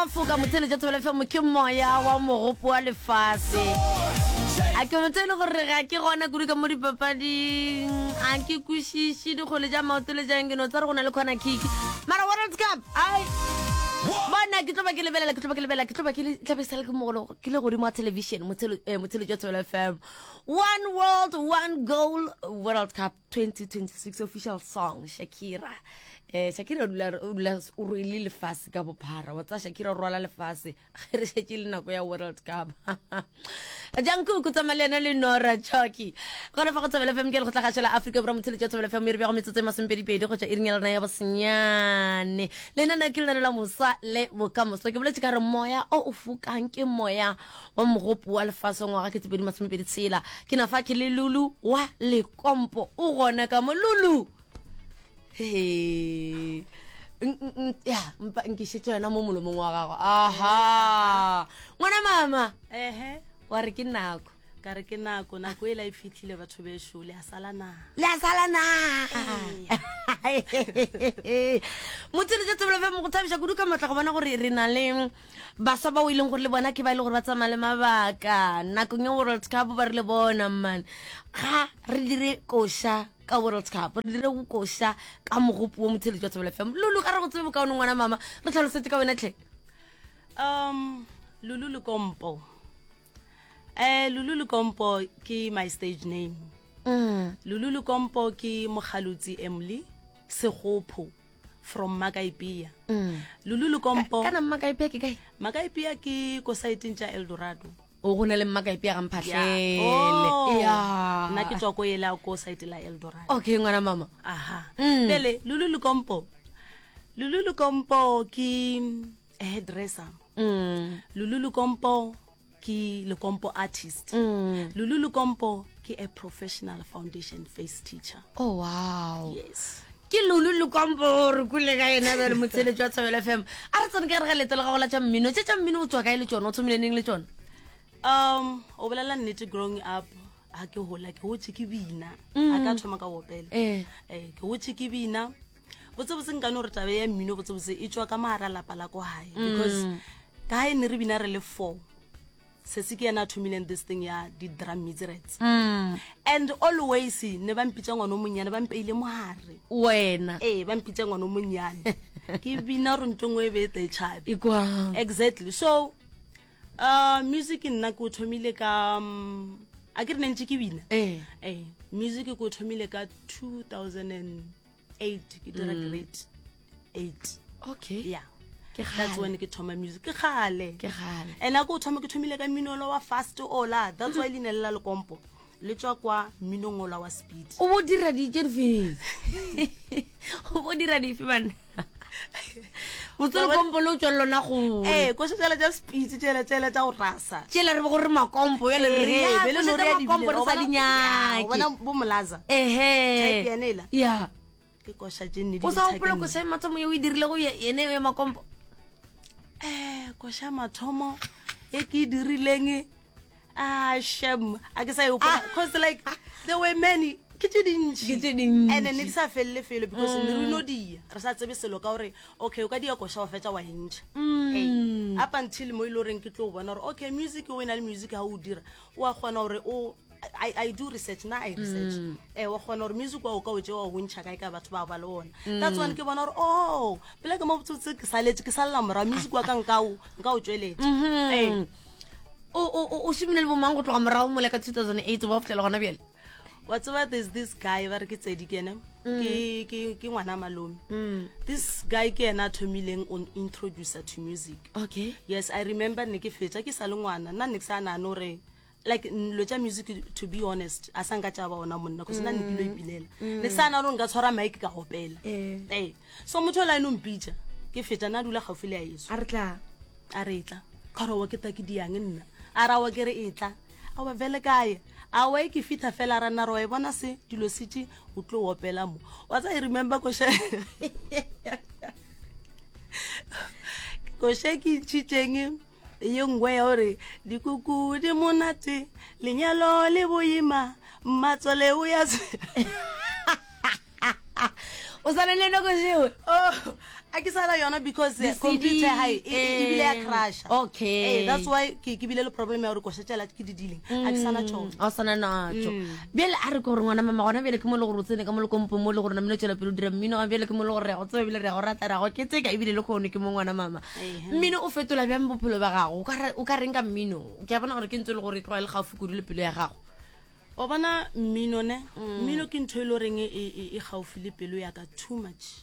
foka motheletša thobela fm ke moya wa mogopo wa lefase a ke motho e le gore ga ke gona kudu ka mo dipapading a ke kwešiše dikgole tša maoto le jang ke no tsa re go na le corner kick mara world cup ai bona ke tlo ba ke lebelela ke tlo ba ke lebelela ke tlo ba ke le tlabe sale ke mogolo ke le godimo wa television motheletša thobela fm one world one goal world cup 2026 official song shakira eh shakira o dula o dula o rwele lefase ka bophara wa tsa shakira o rwala lefase ge re šetše le nako ya world cup jankuku tsamaya le yena le nora choki gona fa go thobela fm ke le go tlagašela afrika borwa motheletši wa thobela fm e re bjago metsotso e masomepedipedi go tšwa iring ya lena ya bosenyane lenaneo ke lenaneo la moswa le bokamoso ke boletše ka re moya o o fokang ke moya wa mogopo wa lefase wa ngwaga ke 2026. Ke na fa ke le Lulu wa Lekompo. O gona ka mo Lulu. He. Ya, mpa nkišetše yona mo molomong wa gago. Aha. Ngwana mama. Ehe. Wa re ke nako. Ka re ke nako, nako e la e fihlile batho bešo, le a sala na. Le a sala na. Motšheletše Thobela FM go thabiša kudu ka matla go bona gore re na le Baswa bao e leng gore le bona ke ba e le gore ba tsamaya le mabaka nakong ya World Cup ba rile bona man ga re dire koša ka World Cup re dire koša ka mogopo wo motheletši wa Thobela FM. Lulu ga re go tsebe bokaone ngwana mama re tlhalosetse ka wena tlhe. Um Lulu Lekompo. Eh Lulu Lekompo ke my stage name. Mm. Lulu Lekompo ke mogalutsi Emily Segopho. from Makaipia. Mm. Lulu Lekompo. Kana Makaipia ke kae? Makaipia ke ko saeteng tša Eldorado. O go na le Makaipia ga Mphahlele. Oh. Yeah. Nna ke tswa ko ela ko saete la Eldorado. Okay ngwana mama. Aha. Mm. Pele Lulu Lekompo. Lulu Lekompo ke hairdresser. Mm. Lulu Lekompo ke lekompo artist mm. lulu lekompo ke a professional foundation face teacher oh wow yes ke lulu lekompo re kule ka yena bjale motsheletso wa tshobelo fm a re tsene ka re ga leto la gago la tša mmino tše tša mmino o tswa kae le tšona o thomile neng le tšona um o bolela nnete growing up ga ke gola ke gotse ke bina mm. a ka thoma ka opela eh. eh, ke gotse ke bina botsebotse nkane gore tabe ya mmino botsebotse e tswa ka mogara lapa la ko gae because mm. ka gae ne re bina re le four sese ke yena a thomileng this thing ya di-drum mizerets mm. and always ne ba mpitsa ngwana o monnyane ba mpeile mogare wena ee ba mpitsa ngwana o monnyane ke bina gore nto ngwe e be e tšhabe exactly so uh, music nna ke o thomile ka um, a ke re ne ntse ke bina ee eh, music ke o thomile ka 2008 ke dira mm. grade 8 okay yeah that's when ke thoma music ke gale ke gale and a ke o thoma ke thomile ka mmino wa fast ola that's why leina le la lekompo le tswa kwa mminong ola wa speed o bo dira dife o bo dira dife banna botsele kompo le o tswa lona go ee ko setsela tša speed tsela tsela tša go rasa tsela re bo gore makompo ya le re ya bele no re makompo re sa di nyake bona bo molaza ehe type ya nela ya ke koša tše nne di o sa gopola koša ya mathomo ye o e dirile go yene ya makompo eh koša mathomo e ke e dirileng ah shem a ke sa e gopola cause like there were many ke tše dintši Ke tše dintši. and ne di sa felele felo because ne re no dia re sa tsebe selo ka gore okay o ka dia koša wa fetša wa e ntšha Ee. up until mo e le goreng ke tlo bona gore okay music o e na le music ga o dira o a kgona gore o I, I do research na I research mm. eh wa kgona gore music wa o ka o tšewa o ntšha kae ka batho ba ba le ona mm. that's one ke bona gore oh pele ke mo botsotse ke saletse ke salela morago music wa ka nka o nka o tšweletša mm -hmm. eh o o o šomile le bomang go tloga morago mole ka 2008 ba fihlela gona bjale wa tseba there's this guy ba re ke tsedi ke ene mm. ke ke ke ngwana malome mm. this guy ke ena a thomileng on introducer to music okay yes i remember ne ke fetša ke sa le ngwana nna ne ke sa nane gore like nlo tša music to be honest a sa nka tša ba ona monna cause nna ne ke lo mm. ipilela ne ke sa nane gore nka tshwara mike ka gopela eh. ee so motho o la ene o mpitša ke fetša na dula gaufi le ya eso a re tla a re tla ka gore wa ke ta ke diang nna a ra wa ke re e tla a wa vele kae a wa e ke fitha fela ra nna re wa e bona se dilo se tše o tlo opela mo wa tsa e remember koše koše ke ntšhitšeng ye nngwe ya gore dikuku di monate lenyalo le boima mmatswale o ya o sa le le nako seo oh. A ke sa na yona because Di-C D, computer ya hae e, e, ebile ya eh, crasha. okay. Eh, that's why ke ke bile le problem ya gore koša tšela ke di dileng. A ke sa na tšona. A o sana natšo. Bjale a re ke gore ngwana mama gona bjale ke mo le gore o tsene ka mo lekompong mo le gore namile o tšwela pele o dira mmino ga bjale ke mo le gore re ya go tseba ebile re ya go rata re ya go keteka ebile le kgono ke mo ngwana mama. Mmino o fetola bjang bophelo ba gago? O ka ra- O ka reng ka mmino? Ke a bona gore ke ntse e le gore e tloga e le gaufi kudu le pelo ya gago. Wa bona mmino ne? Mmino ke ntho e le goreng e, e, e gaufi le pelo ya ka too much.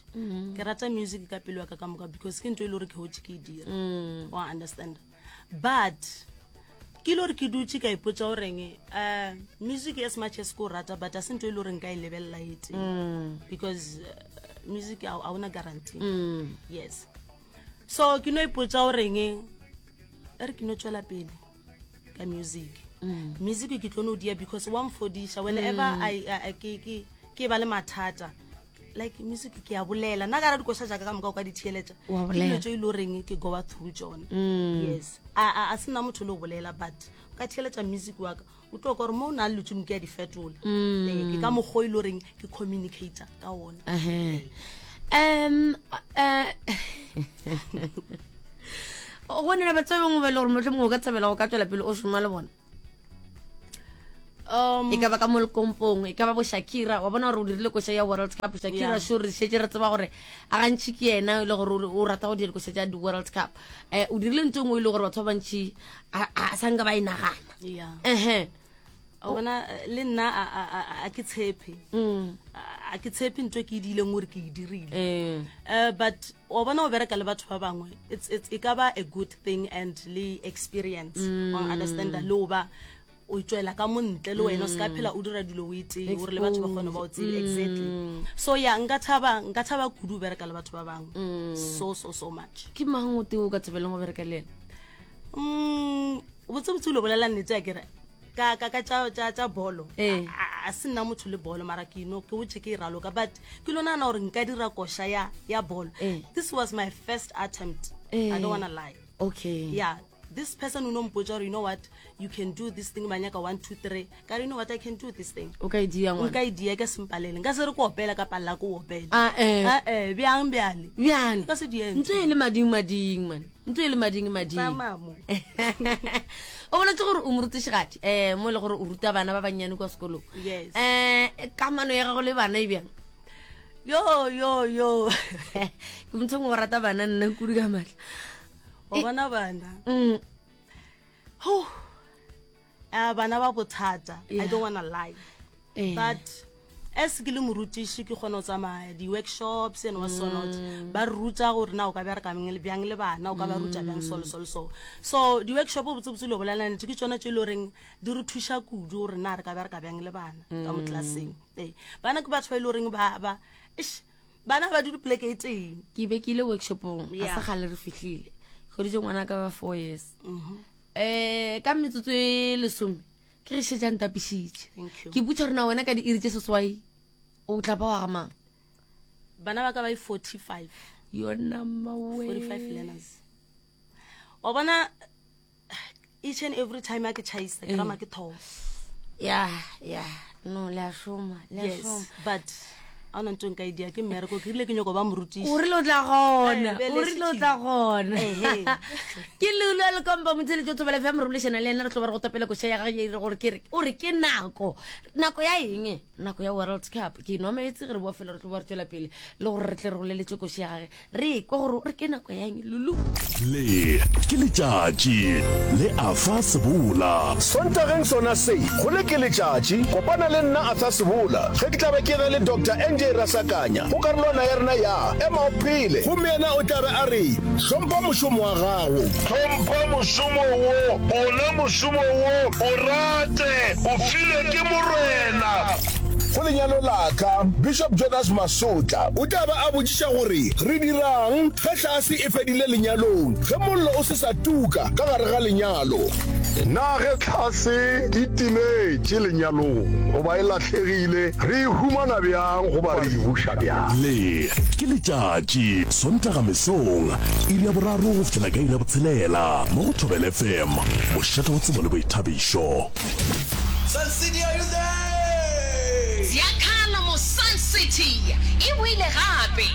Ke rata music ka pelo ya ka ka moka because ke ntho e le gore ke hotše ke e dira. Wa understand? But ke ile gore ke dutše ka ipotša goreng um music as much as ke o rata but a se ntho e le gore nka e lebelela e tee because uh, music ga ona guarantee. Yes. So ke no ipotša goreng e re ke no tšwela pele ka music. Mm. Music ke tlo no dia because wa mfodiša whenever mm. I, I, ke, ke, ke ba le mathata like music ke a bolela nna ka ra dikoša jaaka ka moka o ka di theeletša ke dilo tse e le goreng ke goa through tsone mm. yes a, a, a se nna motho le go bolela but o ka theeletša music wa ka o tlo ka gore mo o na le letsong ke a di fetola mm. ee, ke ka mokgwa e le goreng ke communicator ka ona um eh, go nena batho ba bangwe ba e le gore motlho mongwe o ka thabela go ka tswela pele o šoma le bona um e ka ba ka mo lekompong e ka ba bo shakira wa bona gore o dirile koša ya world cup shakira Yeah. sure re šetse re tseba gore a gantši ke yena e le gore o rata go dira dikoša tša di-world cup um o dirile ntho e nngwe e le gore batho ba bantši a sa nka ba e nagana yeah ehe o bona eh, le nna a- a- a- a ke tshepe Mm. A- a ke tshepe ntho e ke e diileng gore ke e dirile Eh. Eh, but wa bona o bereka le batho ba bangwe it's, it's, e ka ba a good thing and le experience mm. wa understanda le o ba o tswela ka montle le wena o se ka phela o dira dilo o e tee gore le batho ba kgone ba o tsebe exactly so ya nka thaba nka thaba kudu o bereka le batho ba bangwe so so so much ke mang o tee o ka thabeleng go bereka le ena mm botsebotse o lo bolela nnete a kere ka ka ka tša tša tša bolo Eh. a a se nna motho le bolo mara ke no ke botse ke e raloka but ke lo nagana gore nka dira koša ya ya bolo Eh. this was my first attempt Eh. i don't wanna lie okay yeah this person o no mpotsa gore you know what you can do this thing ba nyaka 1 2 3 ka re you know what i can do this thing o ka e dia ngwana nka e dia ka sempalele nka se re ko opela ka palela ko opela Ah, eh. Ah, eh, bjang bjale bjale Nka se die ntse e le mading mading man ntse e le mading mading Tsamaya mo. o boletse gore o morutišigadi um mo e le gore o ruta bana ba bannyane kwa sekolong Yes. um kamano ya gago le bana e bjang yo yo yo ke motho ngwe o rata bana nna kudu ka maatla o bona bana Mm, Huh. Ah, bana ba bothata i Yeah. don't wanna lie eh. but as ke le morutiši ke kgona go tsamaya di-workshops and what so not Mm. ba re ruta gore na o ka bereka bjang le bana o ka ba ruta bjang so le so le so so di-workshop botsebotse le bolela nnete ke tsone tse e le goreng di re thuša kudu gore na re ka bereka bjang le bana ka mo Mm. tlelaseng ee bana ke batho ba e le goreng ba ba eish, bana ba dule poleke e tee ke be ke ile workshopong a Yeah. sa gale re fihlile goditse ngwana ka ba four years um ka metsotso e lesome ke re šetša ntapišitše Thank you. ke botša rena wena ka diiri tše seswai o tla ba wa ga mang bana ba ka ba e 45 yona mawe 45 learners wa bona each and every time a ke chaisa ke rama ke thoma ya ya no le a šoma le a yes šoma but a ona ntho e nka e dia ke mmereko ke rile ke nyako ba morutiši o rile o tla gona Eh, o rile o tla gona Ehe. ke leulo ya lekompa motsheletso thobela fm re bolešana le ena re tlo ba re go tapela koša ya gage e re gore ke re o re ke nako nako ya eng nako ya world cup ke nwa meetse ge re boa fela re tlo ba re tswela pele le gore re tle re boleletse koši ya gage Re kwa gore re ke nako ya eng Lulu? Le ke letšatši le Arthur Sebola. Sontageng sona se, go le ke letšatši, kopana le nna Arthur Sebola ge ke tla be ke na le Doctor NJ Rasakanya go karolwana ya rena ya Ema o Phele. Gomme yena o tla be a re, Hlompha mošomo wa gago. Hlompha mošomo wo, ona mošomo wo, o rate, o filwe ke Morena. Go lenyalo la ka, Bishop Jonas Masotla o tla ba a botšiša gore re dirang ge hlase e fedile lenyalong, ge mollo o se sa tuka ka gare ga lenyalo. Na ge hlase e timetše lenyalong goba e lahlegile, re e humana bjang goba re e buša bjang? Le ke letšatši, Sontaga mesong, iri ya boraro go fihlela ka iri ya botshelela, mo go Thobela FM, mošate wa tsebo le boithabišo. Sun City, are you there? Ziyakhala mo Sun. Sun City e boile gape!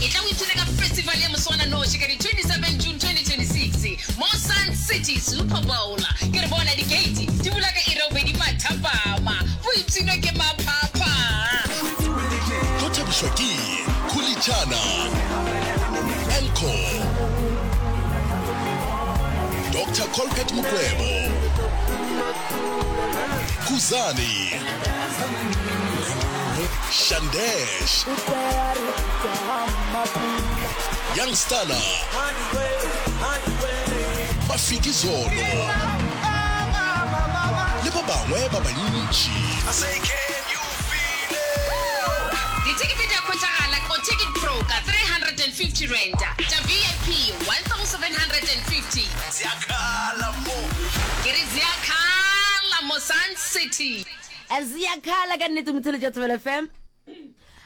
Etla o ipshine ka festival ya moswananoši ka di 27 June 2026 mo Sun City Super Bowl. Ke re bona di-gate di bula ka iri ya bobedi mathapama. Boipshino ke maphapha! Tlo thabišwa ke Khulitšana, Elco, Doctor Colbert Mokwebo, Khuzani, Shandesh, Young Stunna, Mafikizolo le ba bangwe ba bantši. Dithekete di a hwetšagala ko Ticket Pro ka R350, tša VIP R1750. Ke re Ziyakhala mo Sun City. Ziyakhala ka nnete motheletši wa Thobela FM.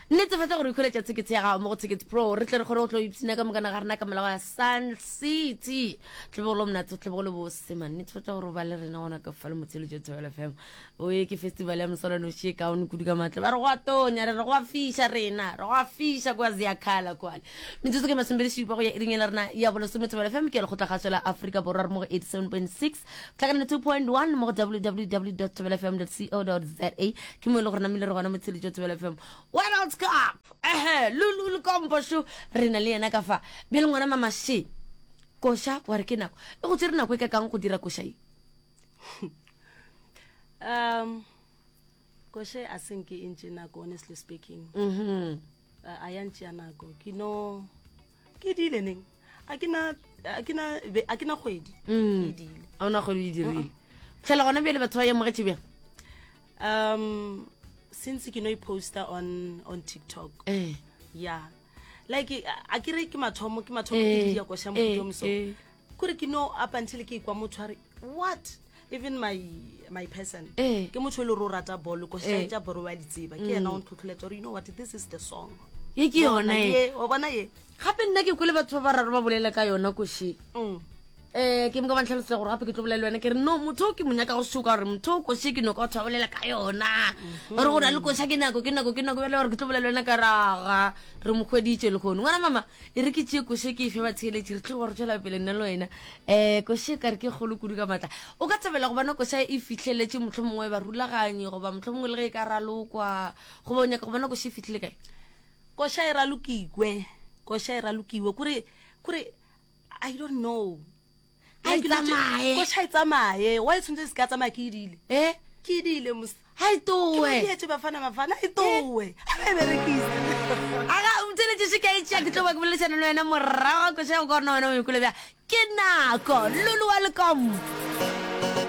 Netefatša gore o ikhweletša thekete ya gago mo go Ticket Pro re tle re kgone go tlo ipshina ka mokana ga rena ka molao ya Sun City. Tlebe go le monate, tlebe go le bose man. Netefatša gore o ba le rena gona ka fa le motheletši wa Thobela FM. Oye ke festival ya moswananoši e kaone kudu ka matla. Ba re go a tonya, re re go a fiša rena, re go a fiša kwa Ziyakhala kwale. Metsotso ke masomepedi šupa go ya iring ya rena ya bolesome Thobela FM ke lekgotlakgašo la Afrika Borwa re mo go 87.6 tlhakana 2.1 mo go www thobelafm co za ke mo e le gore namile re gona motsheletšo Thobela FM World Cup ehe lulu le kompo šo re na le yena ka fa bjale ngwana mama she koša wa re ke nako e go tsere nako e ka kang go dira koša ye Um, koše a se nke e ntše nako honestly speaking. Mm -hmm. A ya ntšea nako. Ke no ke dile neng. A ke na a ke na a ke na kgwedi. Mm. Ke dile. A ona kgwedi e dirile. Tlhela gona bjale batho ba ye mogetše bjang? Um since ke no e poster on on TikTok. Eh. Yeah. Like a ke re ke mathomo ke mathomo ke eh, dia koša eh, mo so. Eh. Kore ke no up until ke ikwa motho a re what even my my person eh. ke motho e le gore o rata bolo ko eh. tša bolo wa di tseba ke yena o ntlhotlholetsa gore you know what this is the song ye ke yona e wa bona ye gape nna ke kwele batho ba bararo ba bolela ka yona koše mm. eh ke moka ba ntlhalosetsa gore gape ke tlo bolela le wena ke re no motho o ke mo nyaka go soka gore motho o koše ke no ka batho ba bolela ka yona mhm. gore go na le koša ke nako ke nako ke nako bjale gore ke tlo bolela le wena ka raga re mo hweditše lehono ngwana mama E re ke tšee koše ke e fe batheeletši, re tlo ba re tšwela pele nna le wena. Um koše ka re ke kgolo kudu ka maatla. O ka thabela go bona koša e fihleletše mohlomongwe barulaganyi goba mohlomongwe le ge e ka ralokwa goba o nyaka go bona koše e fihlile kae? Koša e ralokikwe, koša e ralokiwe kore kore I don't know. A e tsamaye. Koša e tsamaye, why tshwanetse e se ka tsamaya ke e dile? Eh? Ke e dile mos. Ha e towe. Ke dietse bafana bafana e towe. A ba e berekise. Aga o tsweletše se ka e tšea ke tlo ba ke boledišana le wena morago ga koša ya go ka gore na wena o ikole bjang. Ke nako Lulu wa Lekompo.